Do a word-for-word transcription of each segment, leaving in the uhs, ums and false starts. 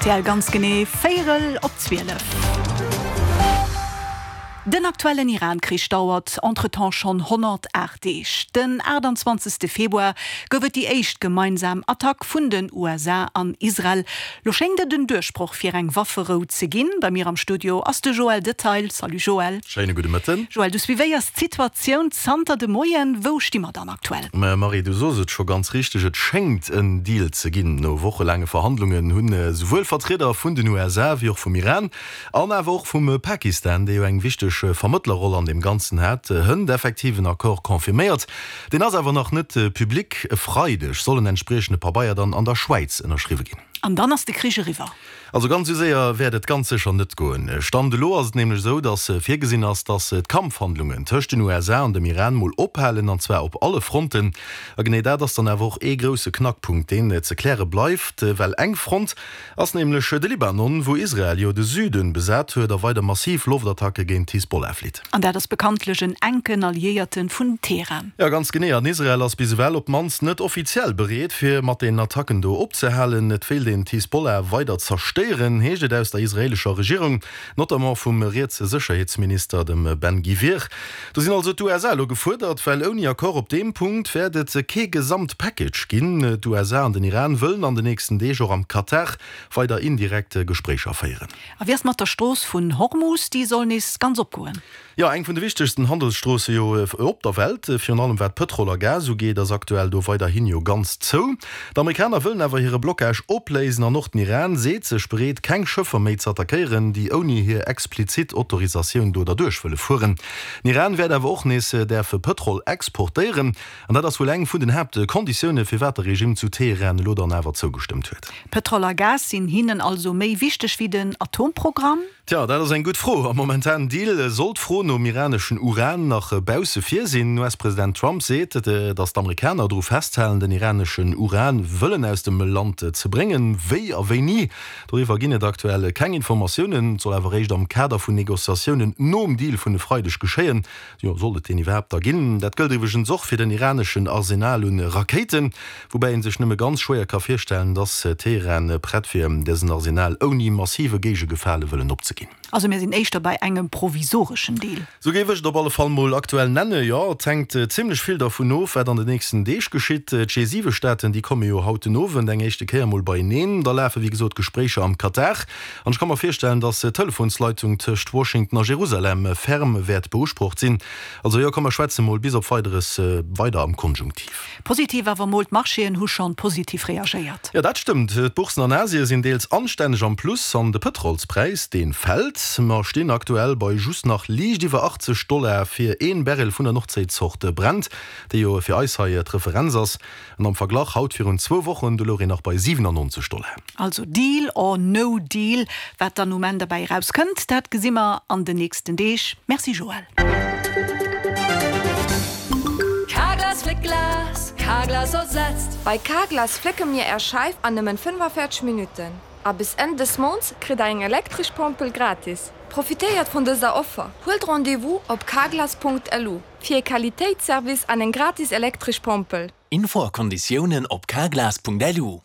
R T L ganz genee véierel op zwielef. Den aktuellen Iran-Krich dauert entretemps schonn honnertaacht Deeg. Den aachtanzwanzegste Februar gouf et déi éischt gemeinsam Attack vun den U S A an Israel. Lo schéngt et en Duerchbroch fir eng Wafferou ze ginn. Bei mir am Studio ass de Joël Detail. Salut Joël. Schéine gudde Mëtten. Joël, du suivéiers d'Situatioun zanter de Moien. Wou sti mer dann aktuell? Mä Marie, du sos et scho ganz richteg, et schéngt en Deal ze ginn. No wochelaange Verhandlungen hunn esouwuel Vertrieder vun den U S A wéi och vum Iran an awer och vum Pakistan, dee jo eng wichteg Vermëttlerroll an deem Ganzen hat, hënt effektiv en Accord confirméiert. Deen ass awer nach net public. E Freideg soll en entspriechende Pabeier dann an der Schwäiz ënnerschriwwe ginn. An dann ass de Krich eriwwer? Also ganz esou séier wäert et ganz sécher net goen. Stand elo ass et nämlech esou, datt virgesinn ass, datt d'Kampfhandlungen tëscht den U S A an dem Iran mol ophalen, an zwar op alle Fronten. A genee dat ass dann awer och ee grousse Knackpunkt, deen ze kläre bleift, well eng Front ass nämlech de Libanon, wou Israel jo de Süden besat huet a weider massiv Loftattacke géint d'Hisbollah flitt. An dat ass bekanntlech en enken Alliéierte vun Teheran. Jo, ganz genee. An Israel ass bis ewell op d'mannst net offiziell bereet, fir mat den Attacken do opzehalen. Et wéilt een d'Hisbollah weider zerstéieren, heescht et aus der israeelescher Regierung, notamment vum rietse Sécherheetsminister, dem Ben Gvir. Do sinn also d'U S A elo gefuerdert, well ouni Accord op deem Punkt wäert et kee Gesamtpackage ginn. D'U S A an den Iran wëllen an den nächsten Deeg och am Katar weider indirekt Gespréicher féieren. A wéi ass mat der Strooss vun Hormus, déi soll nees ganz opgoen? Jo, eng vun de wichtegsten Handelsstroosse jo op der Welt, virun allem wat Pëtrol a Gas ugeet, ass aktuell do weiderhin jo ganz zou. D'Amerikaner wëllen awer hire Blockage opléisen an och den Iran seet sech bereet, keng Schëffer méi ze attackéieren, déi ouni hir explizit Autorisatioun do derduerch wëlle fueren. Den Iran wäert awer och nees däerfe Pëtrol exportéieren an dat ass wuel eng vun den Haaptkonditioune firwat de Regime zu Teheran elo dann awer zougestëmmt huet. Pëtrol a Gas sinn hinnen also méi wichteg wéi den Atomprogramm? Tja, dat ass eng gutt Fro. Am momentanen Deal soll d'Fro nom iraneschen Uran nach bausse vir sinn. U S-President Trump seet, datt d'Amerikaner dru festhalen, den iraneschen Uran wëllen aus dem Land ze bréngen. Wéi a wéini, doriwwer ginn et aktuell keng Informatiounen. Et soll awer réischt am Kader vun Negociatiounen nom Deal vun e Freideg geschéien, jo, sollt et deen iwwerhaapt da ginn. Dat gëllt iwwregens och fir den iraneschen Arsenal un Rakéiten, woubäi ee sech nëmme ganz schwéier ka virstellen, datt Teheran prett wier, dësen Arsenal ouni massive Géigegefale wëllen opzeginn. Also mir sinn éischter bei engem provisoreschen Deal. Sou géif ech et op alle Fall mol aktuell nennen, jo. Et hänkt zimlech vill dervun of, wat an den nächsten Deeg geschitt. D'G siwe Staaten, déi komme jo haut den Owend eng éischte Kéier mol beieneen. Da lafe wéi gesot Gespréicher am Katar. An ech ka mer virstellen, datt d'Telefonsleitung tëscht Washington a Jerusalem ferm wäert beusprocht sinn. Also jo, komm mer schwätze mol bis op Weideres weider am Konjunktiv. Positiv awer mol, d'Marchéen hu schonn positiv reagéiert. Jo, dat stëmmt. D'Bourssen an Asie sinn deels anstänneg am Plus an de Pëtrolspräis, dee fält. Mer stinn aktuell bei just nach liicht iwwer achtzeg Dollar fir een Barrel vun der Nordséizort Brent, déi jo fir eis hei d'Referenz ass. An am Verglach, haut virun zwou Wochen, do louch een nach bei siwenannonzeg Dollar. Also Deal or no deal, wat dann um Enn derbäi erauskënnt, dat gesi mer an den nächsten Deeg. Merci Joël. Carglass flickt Glas, Carglass ersetzt. Bei Carglass flécke mir Är Scheif an nëmmen fënnefaféierzeg Minutten. A bis Enn des Mounts kritt der eng elektresch Pompel gratis. Profitéiert vun dëser Offer. Huelt Rendez-vous op carglass Punkt L U fir e Qualitéitsservice an eng gratis elektresch Pompel. Info a Konditiounen op carglass Punkt L U.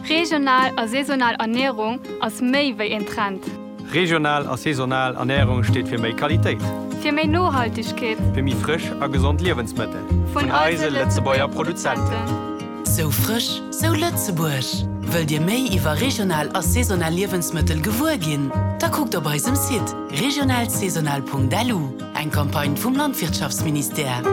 Regional a saisonal Ernierung ass méi wéi en Trend. Regional a saisonal Ernärung steet fir méi Qualitéit. Fir méi Nohaltegkeet. Fir méi frësch a gesond Liewensmëttel. Vun eise Lëtzebuerger Produzenten. Sou frësch, sou Lëtzebuerg. Wëllt Dir méi iwwer regional a saisonal Liewensmëttel gewuer ginn? Da kuckt op eisem Site regionalsaisonal Punkt L U. Eng Campagne vum Landwirtschaftsministère.